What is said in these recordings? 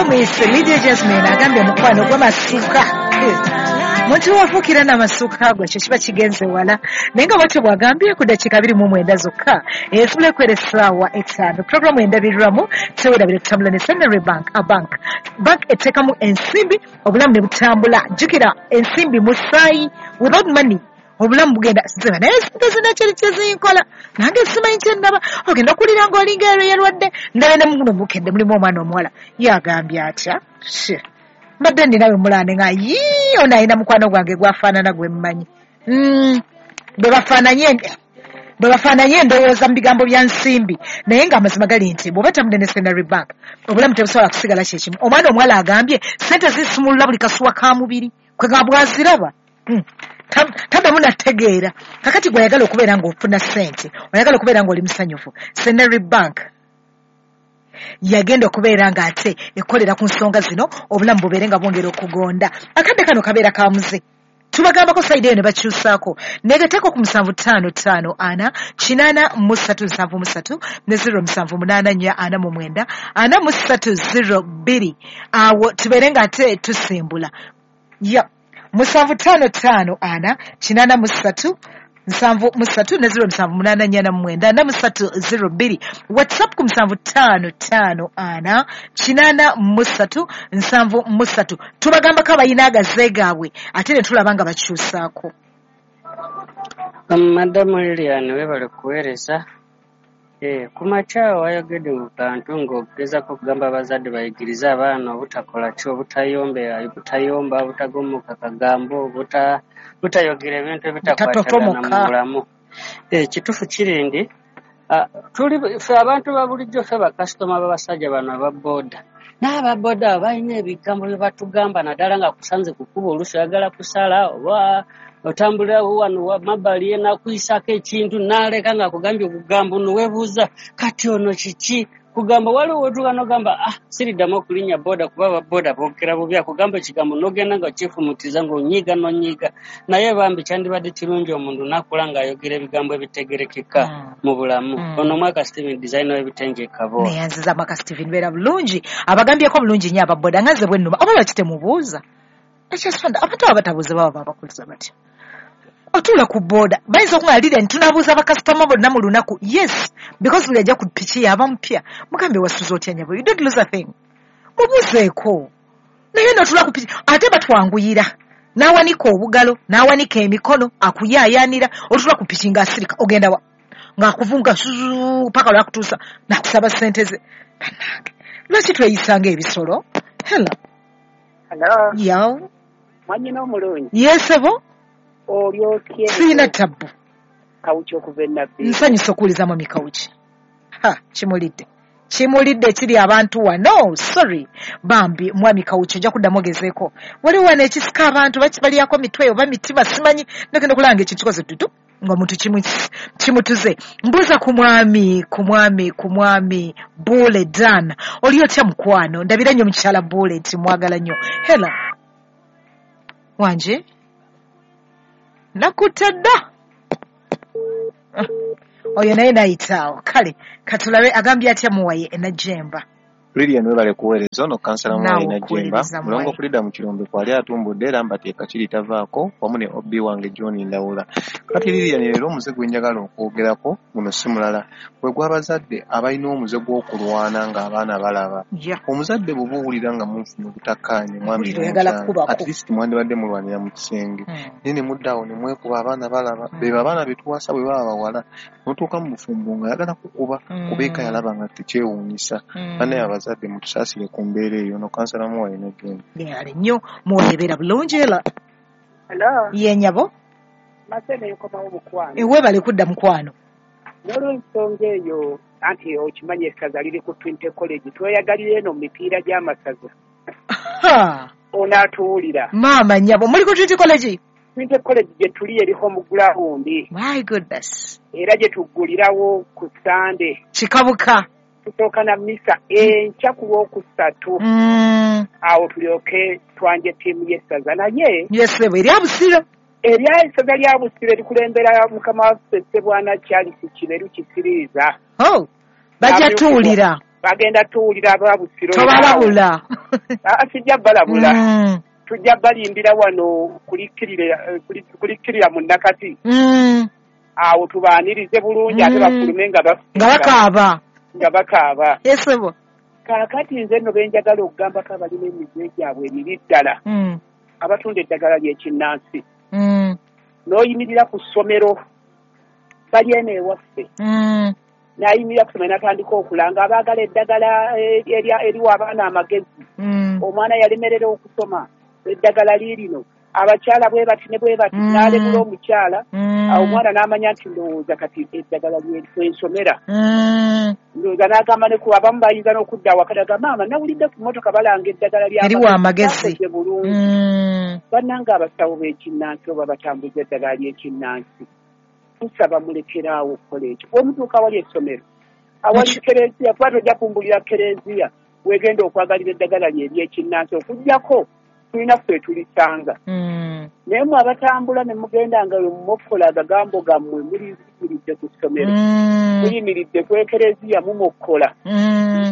Bamuyise Lydia Jasmine, agambye mukwano gw'amasuka. Muntu wafuukira n'amasuka ago, ekyo kiba kigenze wala. Naye nga bwatyo bw'agambye ku ddakiika 29 zokka ezibula ekwera essaawa 5. Puroguramu endabirwamu tewerabire tutambula ne Centenary Bank, a bank. Bank eteekamu ensimbi obulamu ne butambula. Jjukira ensimbi musaayi, without money obulamu bugenda ziba, naye sente zina kyeri kyezinkola nange simanyi kyendaba. Ogenda okuwulira ng'olinga ero yerwadde. Ndabe ne muno bukedde mulimu omwana omuwala yagambye atya, mbadde ndinawe mulane nga yii ono alina mukwano gwange gwafaanana gwe mmanyi. Bwe bafaananye endowooza mu bigambo bya nsimbi, naye ng'amazima gali nti bw'oba tambudde ne Centenary Bank obulamu tebusobola kusigala kyekimu. Omwana omuwala agambye sente zisumulula buli kasuwa ka mubiri kwe nga bwaziraba taddamu nategeera. Kakati gwe oyagala okubeera ng'ofuna ssente, oyagala okubeera ng'oli musanyufu, Centenary Bank yagenda okubeera ng'ate ekolera ku nsonga zino obulamu bubeere nga bwongera okugonda. Akadde kano kabeera ka muze, tubagambako sayidi eyo ne bakyusaako. Negateeko ku 755 4 8 73 ne 0784 49 43 02. Awo tubeere ng'ate tusimbula. Ya 755 4 83 73 ne 0784 49 43 02. WhatsApp ku 755 4 83 73. Tubagambako abalina agaze gaabwe ate ne tulaba nga bakyusaako. Madamu Lilian, webale kuweereza. Ku makya wayogedde mu bantu ng'ogezaako okugamba abazadde bayigirize abaana obutakola ki, obutayomba, obutagomoka kagambo, butayogera ebintu ebitakwatagana mu bulamu. Kituufu kiri ndi tuli ffe abantu ba bulijjo, ffe bakasitoma b'abasajja bano aba booda. N'aba booda balina ebigambo bye batugamba, naddala nga kusanze ku kkubo, oluusi oyagala kusala oba otambulira wano mabbali ye n'akuyisaako ekintu n'aleka ng'akugambye okugambo n'oweebuuza kati ono kiki kugamba. Waliwo wetuuka n'ogamba siriddamu okulinnya booda kuba aba booda boogera bubi, akugamba ekigambo n'ogenda nga okyefumutiriza ng'onyiiga n'onyiiga. Naye bambi kyandibadde kirungi omuntu n'akula ng'ayogera ebigambo ebitegerekeka mu bulamu. Ono Mwaka Steven, designer w'ebitengi e Kabowa. Neyanziza Mwaka Steven, beera bulungi. Abagambyeko bulungi nnyo aba booda nga nze bwe nnuma. Oba lwaki temubuuza? Ekyasonda abantu abo batabuuza baba babakuliza batya? Otuula ku booda bayinza okuŋŋamba Lilian tunaabuuza bakasitoma bonna mu lunaku. Yes, because buli ajja ku piki yaba mupya mugambe wasuze otya nnyabo, you don't lose a thing, mubuuzeeko. Naye n'otuula ku piki ate batwanguyira, n'awanika obugalo n'awanika emikono akuyaayaanira. Otuula ku piki ng'asirika, ogenda wa ng'akuvunga paka lwakutuusa n'akusaba ssente ze. Bannange lwaki tweyisa ng'ebisolo? Hello. Hello. Yo. Mwannyina omulungi. Yes, ebo. Oli otya? Sirina tabbu. Kawuki okuva e Nabbi. Nsanyusa okuwuliza mwami Kawuki. Ha, kimulidde. Kimulidde kiri abantu wano. Sorry. Bambi mwami Kawuki ojja kuddamu ogezeeko. Waliwo wano ekisika abantu balyako mitwe oba mitima simanyi. Nagenda okulaba ng'ekintu kikoze dudu ng'omuntu kimutuze. Mbuuza ku mwami Bule Dan. Oli otya mukwano? Ndabira nnyo mukyala Bule nti mwagala nnyo. Hello. Wanje? Nakutadda. Oyo naye nayitaawo. Kale katulabe agambye atya Muwaye Najjemba. Lilian webale kuweereza. Ono kansala Muwaye Najjemba mulongo Frida mu Kirombe kwali atumbudde era mbateeka kiri tavaako wamu ne OB wange John Ndawula. Kati Lilian leero omuze gwe njagala okwogerako guno si mulala, gwe gw'abazadde abalina omuze gw'okulwana ng'abaana balaba. Omuzadde bw'oba owulira nga munfunye obutakkaanya mwami, at least mwandibadde mulwanira mu kisenge, naye ne mudda awo ne mwekuba abaana balaba. Bebo abaana be tuwasa bwe baba bawala, n'otuuka mu bufumbo ng'ayagala kukuba kuba eka yalaba nga tekyewuunyisa. Bannaye abazadde mutusaasire ku mbeera eyo. Ono kansala Muwaye Najjemba. Ale nnyo Muwaye, beera bulungi. Ela. Hello. Ye nnyabo. Masene nkomawo mukwano. Weebale kudda mukwano. N'olwensonga eyo anti okimanyi essaza liri ku Trinity College, tweyagalira eno mu mipiira gy'amasaza. Ono atuwulira. Maama nnyabo, muli ku Trinity College? Trinity College gye tuli eriko mu gulawundi. My goodness. Era gye tuggulirawo ku Sande. Kikabuka. Tusooka na misa enkya ku Lwokusatu. Awo tulyoke twanje ttiimu y'essaza. Naye yes, erya Busiro. Erya essaza lya Busiro erikulembera mukama waffe Ssebwana Charles Kiberu Kisiriiza. Oh, bajja tuwulira. Bagenda tuwulira aba Busiro. Tobalabula. Sijja balabula. Tujja balindira wano kulikkirira mu Nakati. Awo tubaanirize bulungi ate bafulume nga bakaaba. Nga bakaaba. Yesebo. Kaakati nze nno benjagala okugambako abalina emize gyabwe emibi ddala. Abatunda eddagala ly'ekinnansi. N'oyimirira ku ssomero bali eno ewaffe. N'ayimirira ku ssomero n'atandika okulanga abaagala eddagala eriwa abaana amagezi. Omwana yalemerera okusoma eddagala liirino. Abakyala bwe bati ne bwe bati n'alebula omukyala. Awo omwana n'amanya nti ndowooza kati eddagala lyensomera. Ndowooza n'agamba ne ku abamu bayinza n'okudda awaka n'agamba maama nawulidde ku mmotoka balanga eddagala eriwa amagezi bulungi. Bannange abasawo b'ekinnansi oba batambuza eddagala ly'ekinnansi tusaba mulekeraawo okukola ekyo. Omutuuka awali essomero awali kereziya kuba tojja kumbulira kereziya wegenda okwagalira eddagala lye ery'ekinnansi okuggyako tulina ffe tulisanga. Naye mwe abatambula ne mugenda nga mumokkola agagambo gammwe muliyimiridde ku ssomero muyimiridde ku ekereziya mumokkola.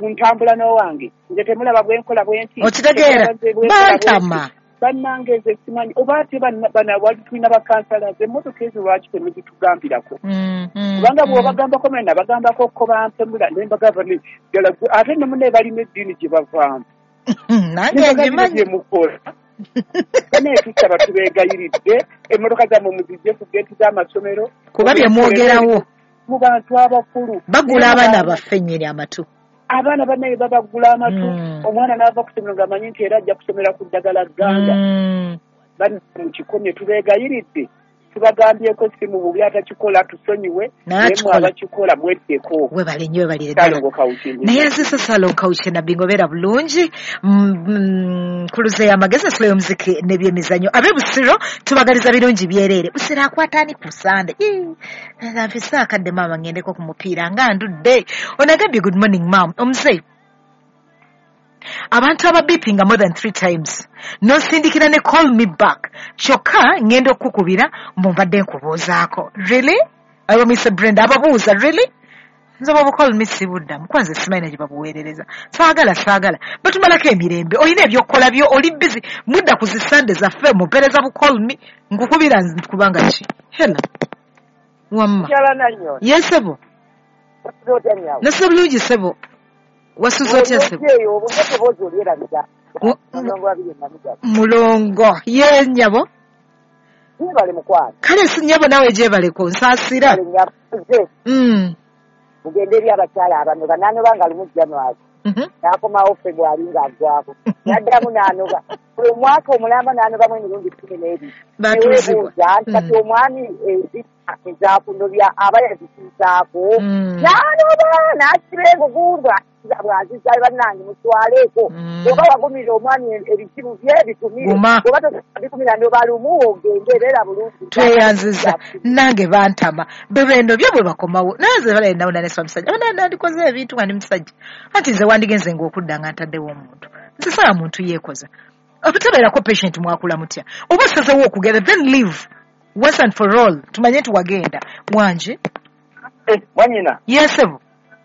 Ntambula n'owange nze temulaba bwe nkola bwe nti. Okitegeera bantama. Bannange nze simanyi oba ate wali tulina bakansala emmotoka ezo lwaki temuzitugambirako? Kubanga bw'obagambako mwe nabagambako ko bampemula ne mbagamba ddala ate ne munne balina eddiini gye bavaamu. Nange ngimanyi. Mukola. Naye tusaba tubeegayiridde emmotoka zammwe muzijje ku geeti z'amasomero. Kuba bye mwogerawo. Mu bantu abakulu. Bagula abaana baffe nnyini amatu. Abaana bannaye babagula amatu. Omwana n'ava ku ssomero ng'amanyi nti era ajja kusomera ku ddagala gganga. Mukikomye tubeegayiridde. Tubagambyeko si mu bubi atakikola tusonyiwe naye mwe abakikola mweddeko. Webale nnyo webalire ddala. Naye nzise Salongo Kawuki Nabingo beera bulungi. Nkuluze y'amagezi ensolo y'omuziki n'ebyemizannyo. Ab'e Busiro tubagaliza birungi byereere. Busiro akwata ani ku Sande? Nfise akadde maama ngendeko ku mupiira nga ndudde. Onagambye good morning ma'am. Omuzeeyi. Abantu ababipinga more than 3 times nosindikira ne call me back kyokka ngenda okukubira mbadde nkubuuzaako. Really? Ayo Mr. Brenda ababuuza really? Nze bw'oba call me sibuddamu kwanza simanyi gye babuweerereza. Saagala batumalako emirembe olina ebyokukola byo oli busy mudda ku zi Sunday zaffe mupeereza bu call me nkukubira kubanga ki? Hello. Wamma. Yes sebo. Nasiba bulungi sebo. Wasuze otya sebo? Mulongo ye nnyabo. Kale si nnyabo naawe gyebaleko nsaasira. Mugende eri abakyala abanoba n'anoba nga lumu January. N'akomawo February ng'aggwako. N'addamu n'anoba. Buli mwaka omulamba n'anobamu emirundi 12. Batuuzibwa. Kati omwami ezakunobya aba yazituusaako. N'anoba n'asiba engugundu bw'azizza bannange mutwaleeko. Bw'oba wagumira omwami ebizibu bye bikumire. Bw'oba tobikumira n'oba lumu ogende beera bulungi. Tweyanziza nange bantama bebendo bye bwe bakomawo. Naye nze balaye nawo naneswa musajja. Abana nandikoze ebintu nga ndi musajja. Anti nze wandigenze ng'okudda nga ntaddewo omuntu. Nze saala muntu yeekoza. Obutabeerako patient mwakula mutya. Oba osazeewo okugenda then leave once and for all. Tumanye nti wagenda. Wanje? Wanyina. Yes sebo.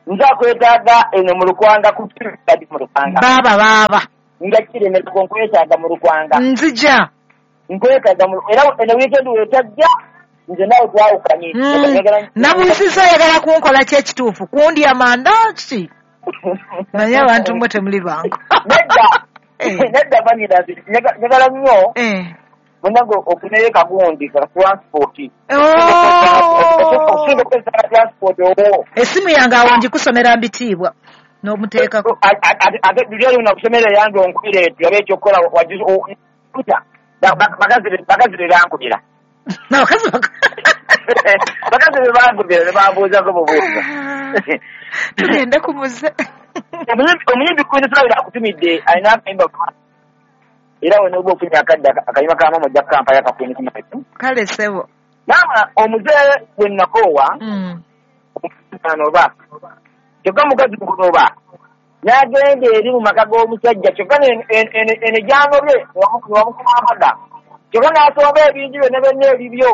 Nze akwetaaga eno mu Lukwanga ku kadi mu Lukwanga. Baaba. Nga kiremerako nkwetaaga mu Lukwanga. Nzija. Nkwetaaga mu era eno weekend wetajja nze naawe twawukanye. Nabuuzizza oyagala kunkola ki ekituufu? Kundya manda ki? Naye abantu mmwe temuli bangu. Nedda. Nedda banyina njagala nnyo. Munange ofuneyo kagundi ka transport. Osinga okukozesa transport owo. Essimu yange awo ngikusomera mbitiibwa n'omuteekako. Ate luli oli nakusomera yange onkubira etyo oba ekyokukola bakazi be bankubira. Bakazi be bankubira ne bambuuzako bubuuza. Tugende ku muze. Omuyimbi Queen Smaragda akutumidde alina akayimba era wena oba ofunye akadde akayimba ka maama ojja kukampayo aka Queen Smaragda. Kale ssebo. Maama omuze gwe nakoowa anoba kyokka mukazi mukunoba n'agenda eri mu maka g'omusajja kyokka eno gyanobye wamukuba amada kyokka n'asomba ebintu byonna byonna ebibyo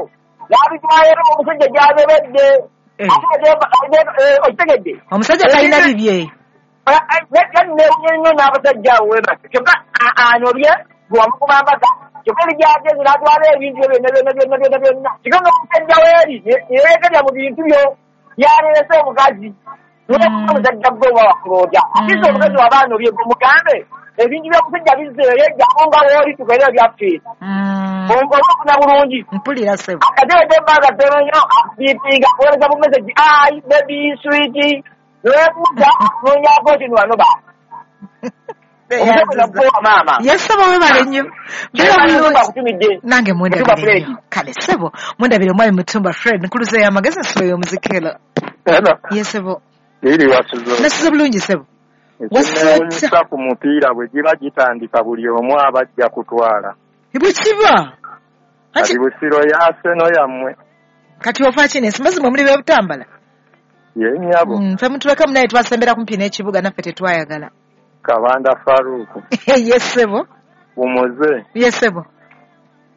n'abitwala eri omusajja gy'anobedde. Okitegedde? Omusajja talina bibye. Newunye nnyo n'abasajja awo webase kyokka anobye gwewamukuba mbaga kyokka erigyagezi n'atwala ebintu byonna byonna byonna byonna byonna kyokka ng'omusajja weeri yeerekerya mu bintu byo yaleese omukazi omusajja gwe oba wakulooja ate omukazi waba anobye gwe mugambe ebintu by'omusajja bizzeeyo ejjamu nga wooli tukolera byaffe oba ofuna bulungi mpulira ssebo akateredde ebbanga ttono nnyo akubiipinga akuweereza bu message ai baby sweet neweebuuza noonyako kino wanoba maama yesebo webale nnyo nange mwendabire nnyo kale ssebo mwendabire omwami Mutumba Fred nkuluza y'amagezi nsibo y'omuzikelo yesebo nasize bulungi ssebo ekinewunyisa ku mupiira bwe giba gitandika buli omu aba ajja kutwala bwe kiba kati Busiro ya Arsenal yammwe kati ofa ki n'ensimba zimwe muli b'ebutambala ye nnyabo ffe mutuleka munaye twasembera kumpi n'ekibuga naffe tetwayagala Kabanda Faruku yesebo umuze yesebo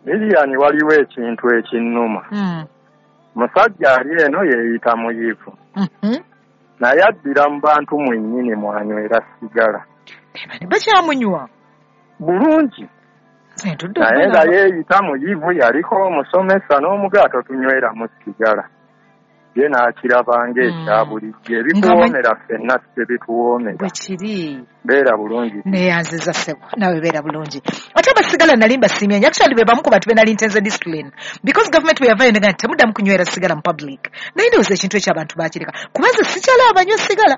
Lilian waliwo ekintu ekinnuma musajja ali eno yeeyita muyivu naye addira mu bantu mwennyini mwanywera sigala bakyamunywa bulungi naye nga yeeyita muyivu yaliko omusomesa n'omugaato tunyweramu sigala ye n'akiraba ng'ekya bulijjo ebituwoomera ffenna tebituwoomera bwe kiri beera bulungi neyanziza ssebo naawe beera bulungi ate abasigala nali mbasiimye nnyo actually be bamu ku bantu be nali ntenze discipline because government bwe yavaayo negamba nti temuddamu kunywera sigala mu public naye ndowooza ekintu ekyo abantu baakireka kuba nze sikyalaba banywa sigala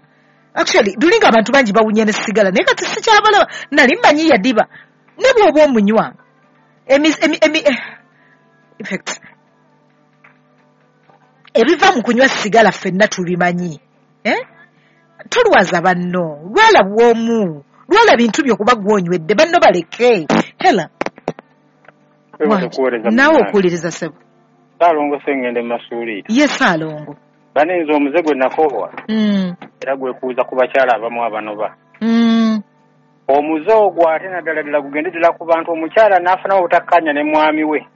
actually lulinga abantu bangi bawunya ne sigala naye kati sikyabalaba nali mmanyi yadiba ne bw'oba omunywa in fact ebiva mu kunywa sigala ffenna tubimanyi tolwaza banno lwala bw'omu lwala bintu byo kuba gwonywedde banno baleke hela naawe okuwuliriza ssebo Ssaalongo Ssengende Masuuli ye Ssaalongo banenze omuze gwe nakoowa era gwekuuza ku bakyala abamu abanoba omuze ogwo ate naddala ddala gugende ddala ku bantu omukyala n'afunawo obutakkaanya ne mwami we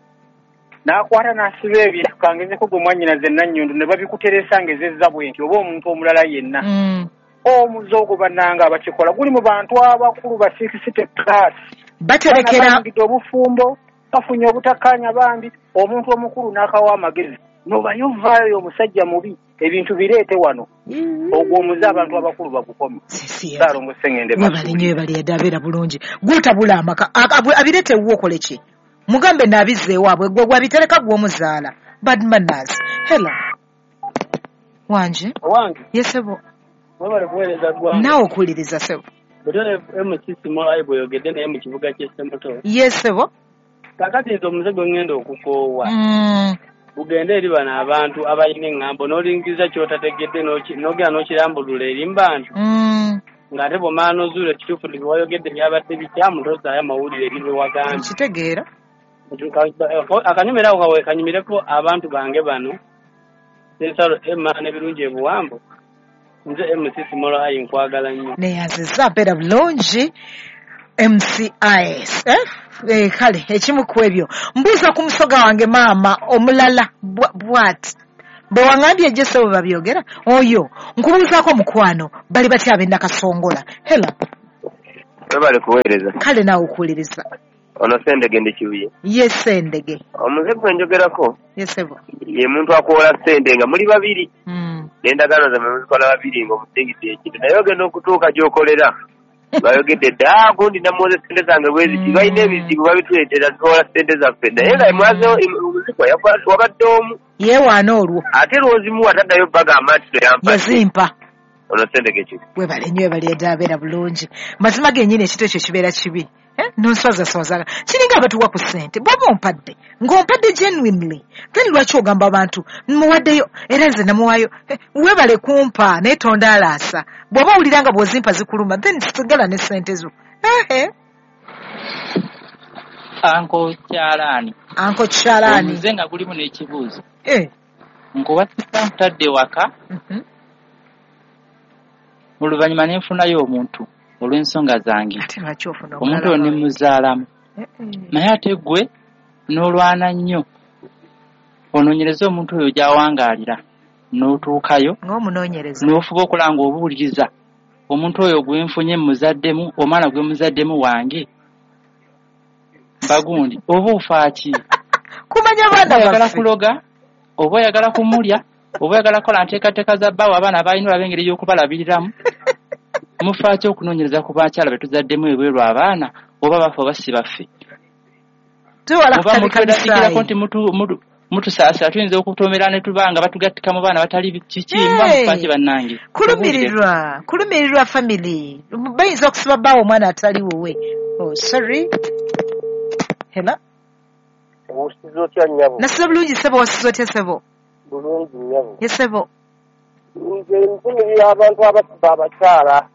n'akwata n'asiba ebintu kangezeko gwe mwannyinaze Nannyondo ne babikuteresa ng'ezezza bwe nti oba omuntu omulala yenna omuze ogwo bannange abakikola guli mu bantu abakulu ba 60 plus baterekera obufumbo bafunye obutakkaanya bambi omuntu omukulu n'akawa amagezi nobayo vaayo omusajja mubi ebintu bireete wano ogwo omuze abantu abakulu bagukome Ssaalongo Ssengende webale nnyo webale yadde abeera bulungi gutabula amaka abireete ewuwo okole ki mugambe naabizza ewaabwe gwe gwabitereka gw'omuzaala bad manners hello wanje owange yesebo webale kuweereza ggwanga naawe okuwuliriza ssebo butone MC Simola bweyogedde naye mu kibuga ky'e Ssemuto yesebo kakati nze omuze gwe ŋŋenda okukoowa gugende eri bano abantu abalina eŋŋambo n'olingiza ky'otategedde n'ogenda n'okirambulula eri mu bantu ng'ate bw'omala n'ozuula ekituufu nti bye wayogedde byabadde bikyamu tozaayo amawulire eri bye wagambye nkitegeera akanyumira ako kawe kanyumireko abantu bange bano Sensalo Emma n'ebirungi ebuwambo nze MC Simola ayi nkwagala nnyo neyanziza mpeera bulungi MCIS kale ekimu ku ebyo mbuuza ku musoga wange maama omulala bw'ati bwe waŋŋambye ejje ssebo babyogera oyo nkubuuzaako mukwano bali batya ab'e Nakasongola hela webale kuweereza kale naawe okuwuliriza ono Ssendege ndi Kibuye ye Ssendege omuze gwe njogerako yesebo ye muntu akuwola ssente nga muli babiri n'endagaano zammwe muzikola babiri ng'omusingidde ekintu naye ogenda okutuuka gy'okolera bayogedde dda gundi namuwoze ssente zange bwe ziti balina ebizibu babituleetera tuwola ssente zaffe naye nga mwazeewo omuzikwa wabadde omu yeewaana olwo ate lw'ozimuwa taddayo bagamba nti toyampa yazimpa ono Ssendege Kibuye webale nnyo webale yadde abeera bulungi mazima gennyini ekintu ekyo kibeera kibi nonswazaswazaga kiringa abatuwa ku ssente bw'oba ompadde ng'ompadde genuinely then lwaki ogamba abantu muwaddeyo era nze namuwaayo weebale kumpa naye tondaalaasa bw'oba owulira nga bw'ozimpa zikuluma then sigala ne ssente zo Anko Kyalaani Anko Kyalaani omuze nga gulimu n'ekibuuzo nkuwasisa nkutadde waka oluvannyuma ne nfunayo omuntu olw'ensonga zange omuntu oyo ne muzaalamu naye ate ggwe n'olwana nnyo onoonyereze omuntu oyo gy'awangaalira n'otuukayo ng'omunoonyereza n'ofuba okulanga obuwuliriza Omuntu oyo gwe nfunye muzaddemu, omwana gwe muzaddemu wange bagundi, oba ofaaki? Kumanya abaana oyagala baffe. Kuloga, oba oyagala kumulya, oba oyagala kukola nteekateeka za bbaawe, abaana balina olaba engeri y'okubalabiriramu. Mufaaki okunoonyereza ku bakyala be tuzaddemu ebweru abaana, oba baffe oba si baffe? Tuwala Muba kutabika mutweraliikirako misaayi. Nti mutusaasira, tuyinza okutomera ne tuba nga batugattika mu baana batali kiki. Muba Hey! mufaaki bannange? Kulumirirwa family bayinza okusiba bbaawe omwana atali wuwe. Oh, sorry, hello. Osiza otya nnyabo? Nasiza bulungi ssebo, wasiza otya ssebo? Bulungi nnyabo. Ye ssebo. Nze nvumirira abantu abasiba abakyala.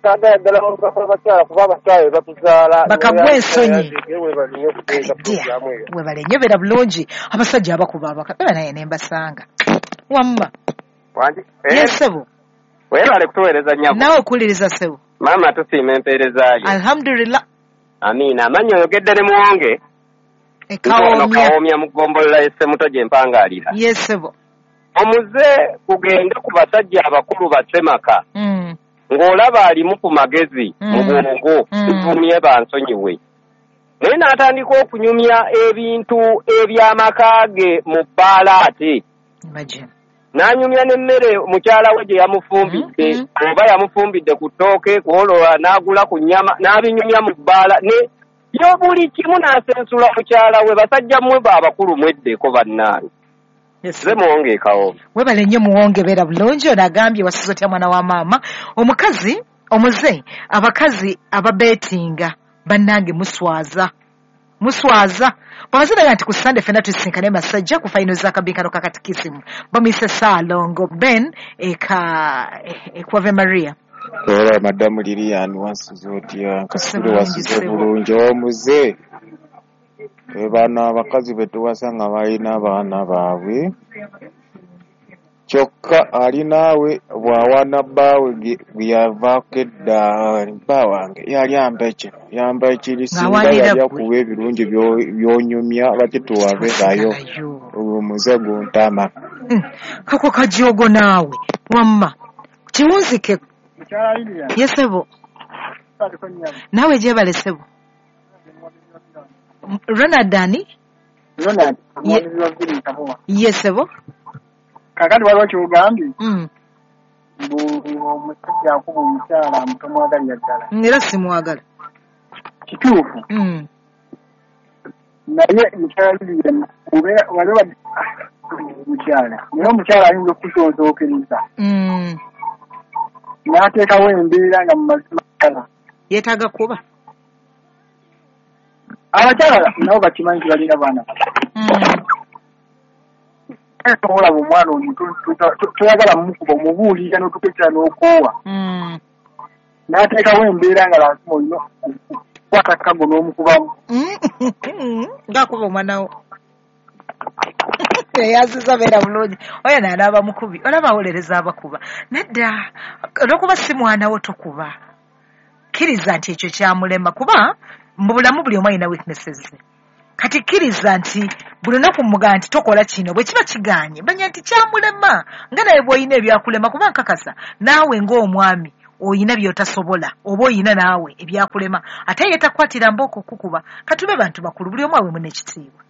Saagala ddala baluka abakyala, kuba abakyala be batuzaala. Bakagwa ensonyi. Webale nnyo okuteeka pulogulaamu eyo. Webale nnyo, beera bulungi. Abasajja abakuba abaka beba naye ne mbasanga wamma. Wangi? Ye ssebo. Weebale kutuweereza nnyabo. Naawe okuwuliriza ssebo. Maama, tusiima empeerezaayo. Alhamdulillah. Amiina. Amannya oyogedde ne Muwonge. Kawomya. Ono Kawomya mu ggombolola y'e Ssemuto gye mpangaalira. Ye ssebo. Omuze kugende ku basajja abakulu bassemaka ng'olaba alimu ku magezi mu bwongo, tuvumye bansonyiwe, naye n'atandika okunyumya ebintu eby'amaka ge mu bbaala, ate Imagine. n'anyumya n'emmere mukyala we gye yamufumbidde, oba yamufumbidde ku ttooke, kwolwo n'agula ku nnyama n'abinyumya mu bbaala ne yo buli kimu n'asensula mukyala we. Basajja mmwe ba abakulu mweddeko bannange. Nze Muwonge e Kawomya. Webale nnyo Muwonge, beera bulungi. Ono agambye, wasiza otya mwana wa maama? Omukazi omuze, abakazi ababeetinga bannange muswaza, muswaza. Bwabaziraga nti ku Sande ffenna tusisinkane Masajja ku fayino z'akabinkano ka katikisimu. Bamuyise Saalongo Ben eka ekwave Maria. Era madamu Lilian, wasuze otya? Nkasubire Bulungi, wasuze ssebo. bulungi. Omuze bano abakazi be tuwasa nga balina abaana baabwe, kyokka ali naawe bw'awaana bbaawe gwe yavaako edda, bba wange yali ampa kino, yampa kiri, singa Ng'awaanira yali ggwe. akuwa ebirungi by'onyumya, lwaki tuwabeerayo? Ogwo omuze guntama. Kako kajoogo naawe wamma kiwunzike. Mukyala Lilian. Ye ssebo. Baliko nnyabo. Naawe gyebale ssebo. Ronald ani? Ronald, omwami wa Village Kabowa. Ye ssebo. Kaakati waliwo ky'ogambye mbu omusajja akuba omukyala mbu tomwagalira ddala. Era simwagala. Kituufu. Naye mukyala Lilian, obeera waliwo mukyala, naye omukyala ayinza okukusonsookereza n'ateekawo embeera nga mu mazima ddala yeetaaga kuba. Abakyala nabo bakimanyi nti balina baana. Olaba omwana omuto toyagala mumukuba, omubuulira n'otuukiriza n'okoowa, n'ateekawo embeera nga lazima olina okukwata akago n'omukubamu. Ng'akuba omwana wo eyaziza. Beera bulungi. Oyo naanaaba mukubi, olaba awolereza abakuba. Nedda, olwokuba si mwana wo tokuba. Kkiriza nti ekyo kyamulema, kuba mu bulamu buli omu alina weaknesses ze. Kati kkiriza nti buli lunaku mugamba nti tokola kino, bwe kiba kiganye manya nti kyamulema, nga naye bw'olina ebyakulema. Kuba nkakasa naawe ng'omwami oyina by'otasobola, oba oyina naawe ebyakulema, ate ye takwatira mbooko kukuba. Katube bantu bakulu, buli omu awe munne ekitiibwa.